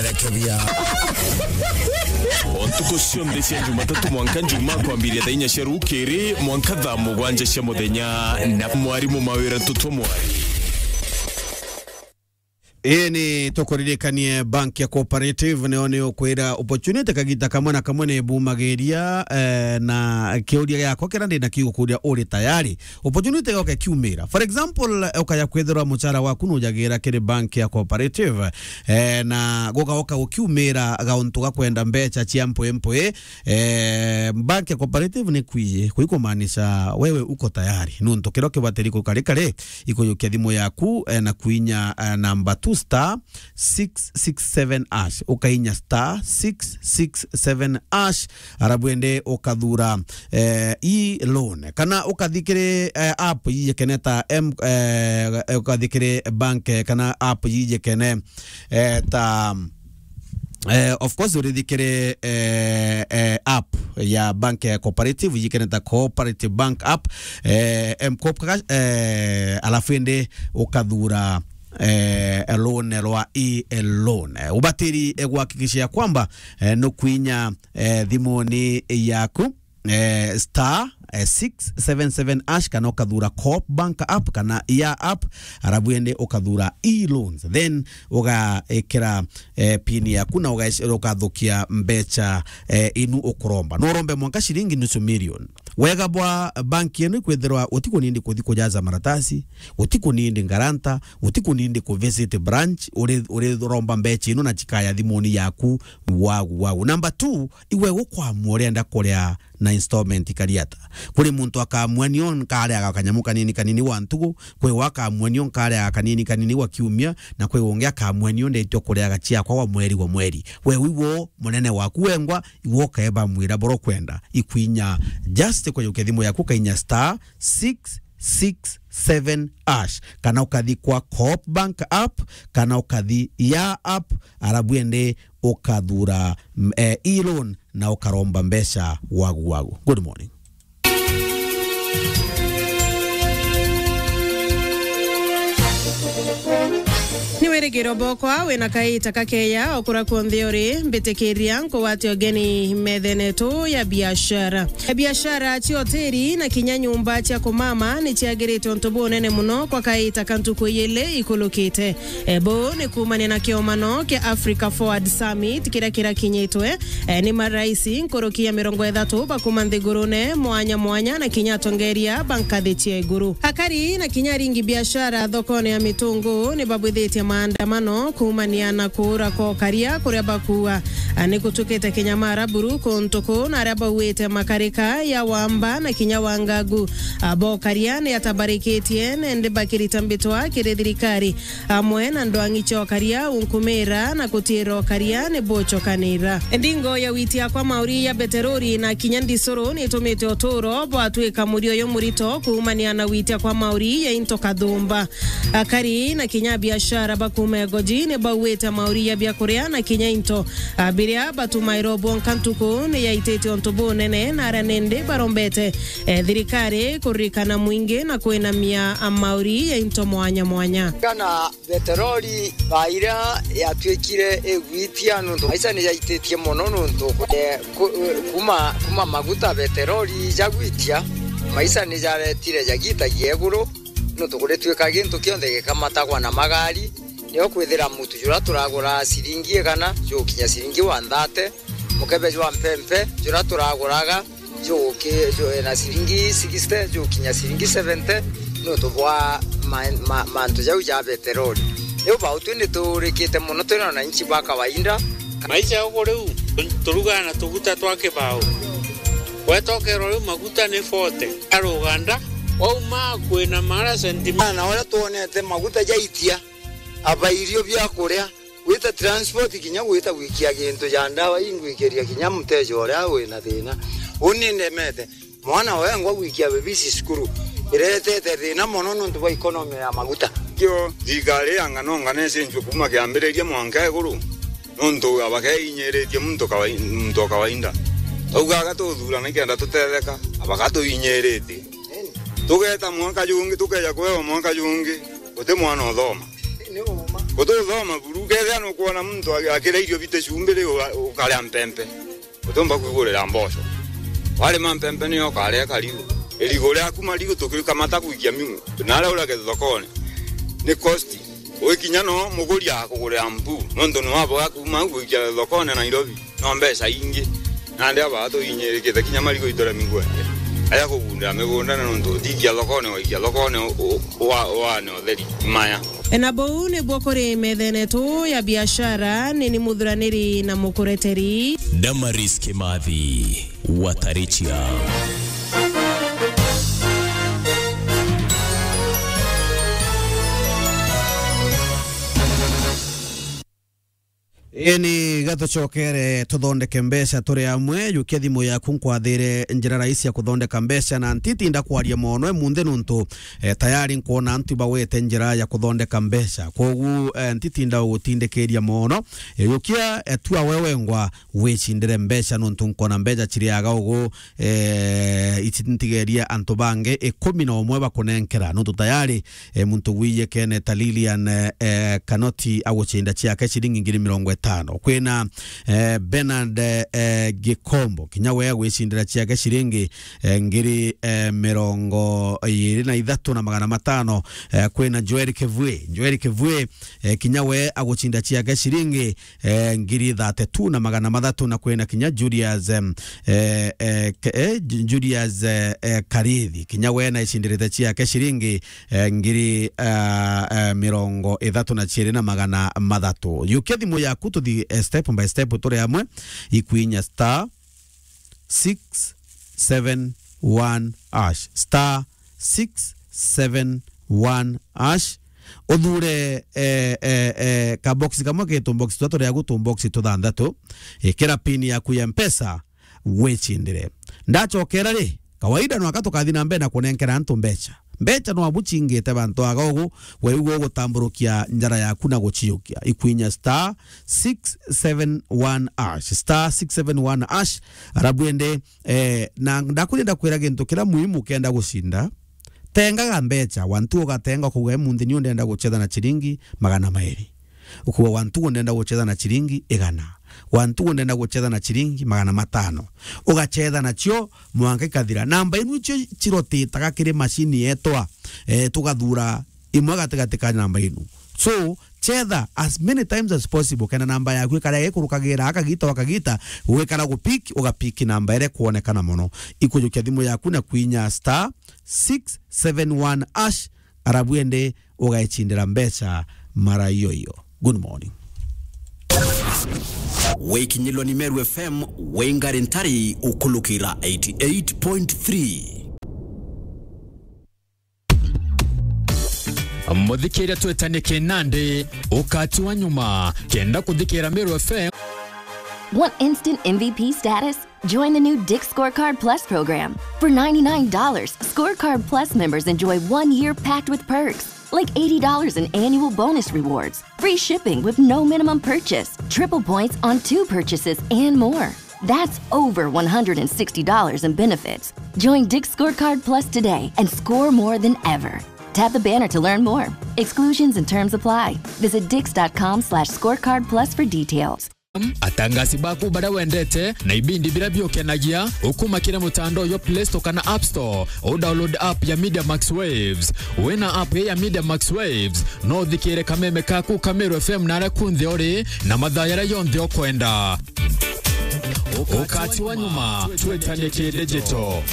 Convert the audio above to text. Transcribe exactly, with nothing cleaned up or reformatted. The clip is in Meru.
Rekebia. O ntuku cionthe cia Jumatatu mwanka Njumaa, kwambiria thaa inya cia rukiri mwanka thaa mugwanja cia muthenya, na mwarimu Mawira Ntutu Mwari. Ii ni tukuririkanie, bank ya Cooperative nio ni ukwira opportunity kagita kamwe na kamwe ni bumagiria, eh, na kiuria giakwa kiria ndi na kigukuria, uri tayari opportunity yoke kiumira? For example, eh, ukaya kwithirwa mucara waku nujagira kiri bank ya Cooperative, eh, na gugaoka gukiumira gauntu ga kwenda mbecha cia mpwi mpwi, eh, bank ya Cooperative ni kwi, kwi kumaanisha wewe uko tayari, nuntu kiria kibatiri kukari kari ikujukia thimu yaku, eh, na kuinya, eh, number two star six six seven hash, ukainya star six six seven hash, arabu ende ukathura, eh, e-loan, kana ukathi kiri, eh, app ijikene ta M-, eh, ukathi kiri bank, eh, kana app ijikene, eh, ta, eh, of course, urithi kiri, eh, eh, app ya bank ya Cooperative ijikene ta Cooperative Bank app, eh, M-Coop Cash, eh, alafu ende ukathura, eh, loan rwa e-loan. Eh, ubatiri, eh, guhakikisha ya kwamba, eh, nukuinya, eh, thimuni yaku, eh, star, eh, six seven seven hash, kana ukathura Coop Bank app kana ya app, arabu ende ukathura e-loans. Then ugaikira, eh, pin yaku na ugac-, ukathukia mbecha, eh, inu ukuromba. No urombe mwanka shilingi nusu million. Wega bwa bank ino ikwithirwa utikunindi kuthi kujaza maratasi, utikunindi ngaranta, utikunindi ku visit branch, uri, uri romba mbecha ino na chikaya thimuni yaku, wagu, wagu. Number two, iwe ukwamua urienda kuria na installment ikari ata. Kuri muntu akamua nio nkariaga kanyamu kanini kanini wa ntugu, kwi wa akamua nio nkariaga kanini kanini wa kiumia, na kwi ungi akamua nio ndetio kuriaga ciakwa wa mweri wa mweri. We wiwo munene waku wengwa, iwe ukaeba mwira boro kwenda. Ikwinya just kujukia thimu yaku, ukainya star six six seven hash, kana ukathi kwa Coop Bank app, kana ukathi ya app, arabu ende ukathura, mm, eh, e-loan na ukaromba mbeca wagu wagu. Good morning. Ni wirigiro bokwa wina kaita kakeya okura kunthe uri, mbitikiria nkugwate ugeni methene tu ya biashara. Biashara cia hoteli na kinya nyumba cia kumama ni ciagirite untu bunene muno kwa kaita ka ntuku ijili ikulukite. E, buu ni kuumania na kiomano kia Africa Forward Summit kiria kirakinyitwe. E, ni maraisi nkuruki ya mirongo ithatu ba kuuma nthigurune mwanya mwanya na kinya atongeria ba nkathi cia iguru. Akari na kinya aringi biashara thokone ya Mitungu ni babwithitie maandamano kuumania na kuura kwa ukaria kuria bakuuga, a, ni gutukite kinyamara buru kuntu kuu, na aria bauite makarika ya Wamba na kinya Wangagu, a, bokaria ni atabarikitie, nende bakirita mbitwa kiri thirikari. Amwe na ndwang'i cia ukaria unkumira na kutiira ukaria ni bucokanira. Ndingo ya witia kwa mauri ya beterori na kinya ndisuru ni itumite uturo bwatwika murioyo murito kuumania na witia kwa mauri ya into kathumba. Akari na kinya biashara ba kuuma Egoji ni bauite mauri ya biakuria na kinya into, a, biria batumairwo bwonka ntuku ni yaitite untu bunene, na aria nindi barombete, e, thirikari kuririkana mwingi na kwinamia, a, mauri ya into mwanya mwanya. Kana beterori baira yatwikire igwitia nuntu maisha ni yaititie mono nuntu, eh, ku-, kuma, kuma maguta beterori jagwitia, maisha ni jaretire jagitagia iguru nuntu kuritwika gintu kionthe gikamatagwa na magari. Nio kwithira mutu jura turagura ciringi igana jugukinya ciringi one thirty, mukebe jwa mpempe jura turaguraga juguki-, ju-, na ciringi sixty jugukinya ciringi seventy, nuntu bwa ma-, ma-, mantu jau ja beterori. Riu bau twi ni tuurikite mono, twi na wananchi ba kawaida. Maisha uku riu, tu-, turugaga na tuguta twa kibao. Wetokerwa riu maguta ni forty. Aruganda, wauma kwina mara sentimita. Na uria twonete maguta jaitia, aba irio bia kuria, gwita transport, kinya gwita gwikia gintu ja ndawa ingwikiria kinya muteja uria wina thina. Uni ndemete mwana wengwa gwikia bebisi cukuru, iretete thina mono nuntu bwa economy ya maguta. Kio thirikari ya ngano ngano icenjue kuma kiambiriria mwanka iguru, nuntu abakeinyiritie muntu kawai-, muntu o kawaida. Twaugaga tuthurana nikenda tutetheka, abakatuinyiritie. Tugeta mwanka jungi, tukeja kwewa mwanka jungi, guti mwana uthoma. Guti uthoma buru. Ukethia nukwona muntu aki-, akiria irio bite cumbiri, uga-, ukaria mpempe. Utiumba kwigurira mboco. Warima mpempe niyo ukaria karigu. Irigu riaku marigu tukikamata gwikia miu. Na aria uragetha thokone. Ni cost. Wikinya no muguri akugurira mpu. Nontu ni waboga kuma au gwikia thokone Nairobi. No mbeca ingi. Nandi aba tuinyirikite kinya marigu itore migwende. Aja kugundira migunda na nontu utikia thokone, waikia thokone u-, u-, wa-, wane utheri. Maya. Na buu nibwo kuri methene tu ya biashara, ni ni muthuraniri na mukureteri. Damaris Kimathi, Watarichia. Ii ni gatucokere tuthondeke mbeca turi amwe. Jukia thimu yaku nkwathire njira raisi ya kuthondeka mbeca, na ntitinda kwaria mono emunthi nuntu, eh, tayari nkwona antu ibawete njira ya kuthondeka mbeca. Kwogu, eh, ntitinda ugutindikiria mono. Eh, jukia, eh, tua we wengwa wicindire mbeca nuntu nkona mbeca ciriaga ugu, eh, ici ntigerie antu bangi ikumi na umwe bakunenkera, nontu tayari, eh, muntu wiyekene ta Lilian, eh, eh, Kanoti agucinda ciake ciringi ngiri mirongo itano. Kwina, eh, Bernard, eh, Gikombo, kinya we agwicindira ciake ciringi, eh, ngiri, eh, mirongo iri na ithatu na magana matano. Eh, kwina Joel Kivue, Joel Kivue, eh, kinya we agucinda ciake ciringi eh, ngiri thirty-two na magana mathatu, na kwina kinya Julius, em, eh, eh, ke-, eh, Ju-, Julius, eh, eh, Karithi, kinya we naicindiritie ciake ciringi, eh, ngiri, ah, eh, mirongo ithatu na ciiri na magana mathatu. Jukia thimu yaku tuthi, eh, step by step turi amwe, ikwinya star six seven one hash, star six seven one hash. Uthure, eh, eh, eh, kabox kamwe ki tubox tuthatu, riagu tubox tuthanthatu. Ikira pin yaku ya Mpesa, wicindire. Ndacokera ri, kawaida nwaka tukathi na mbere na kunenkera antu mbeca. Mbeca nwabu cingite bantu aga ugu, we ugu ugutamburukia njara yaku na guciukia. Ikwinya star six seven one hash, star six seven one hash, arabu ende, eh, na ndakwenda kwira gintu kira muhimu kenda gucinda, tengaga mbeca, wantu ugatenga, ukauga, "Emunthi niu ndenda gucetha na ciringi magana mairi." Ukauga, "Wantu ndenda gucetha na ciringi igana. Wantu ndenda gucetha na ciringi magana matano." Ugacetha nacio mwanka ikathira. Namba inu icio cirotitaga kiri macini yetwa, eh, tugathura imwe gatigati ka namba inu. So, chetha as many times as possible, kenda namba yaku ikara ikurukagira akagita wakagita, gwikara gupiki, ugapiki namba iria ikuonekana mono. Ikujukia thimu yaku na kwinya star six seven one hash, arabu ende ugecindira mbeca mara iyo iyo. Good morning. Wikinyilwa ni Meru F M, wingari ntari ukulukira eighty eight point three. Muthikiria twetanie kinandi, ukati wa nyuma, kenda kuthikira Meru F M. Want instant M V P status? Join the new Dick's Scorecard Plus program. For ninety-nine dollars, Scorecard Plus members enjoy one year packed with perks, like eighty dollars in annual bonus rewards, free shipping with no minimum purchase, triple points on two purchases, and more. That's over one hundred sixty dollars in benefits. Join Dick's Scorecard Plus today and score more than ever. Tap the banner to learn more. Exclusions and terms apply. Visit dicks dot com slash scorecard plus for details. Atangasi baku baria wendete na ibindi biria biukenagia, ukuma kiri mutandao jwa Play Store kana App Store, u download app ya Media Max Waves. Wina app ya Media Max Waves, no uthikire kameme kaku ka Meru F M na aria kunthe uri na mathaa jaria jonthe ukwenda. Ukati wa nyuma, twetanie ki digital.